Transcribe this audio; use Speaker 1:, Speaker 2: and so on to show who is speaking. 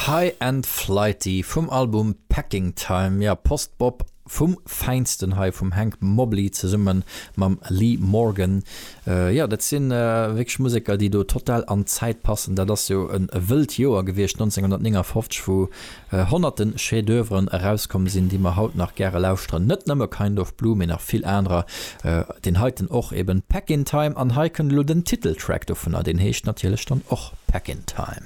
Speaker 1: High and Flighty vum Album Packing Time, jo Post-Bop vum Fäinsten hei vum Hank Mobley zesumme mam Lee Morgan. Jo dat si wierklech Museker déi do total an d'Zäit passen. Dat ass jo e wëllt Joer gewiescht 1959 wou Honnerten Chef-d'oeuvren erauskomm sinn, déi mer haut nach gäre lauschteren. Net nëmme Kind of Blue, mee nach vill anerer. Deen heiten och eben Packin' Time. An hei kënnt elo den Titeltrack dovunner, deen heescht natierlech dann och Packin' Time.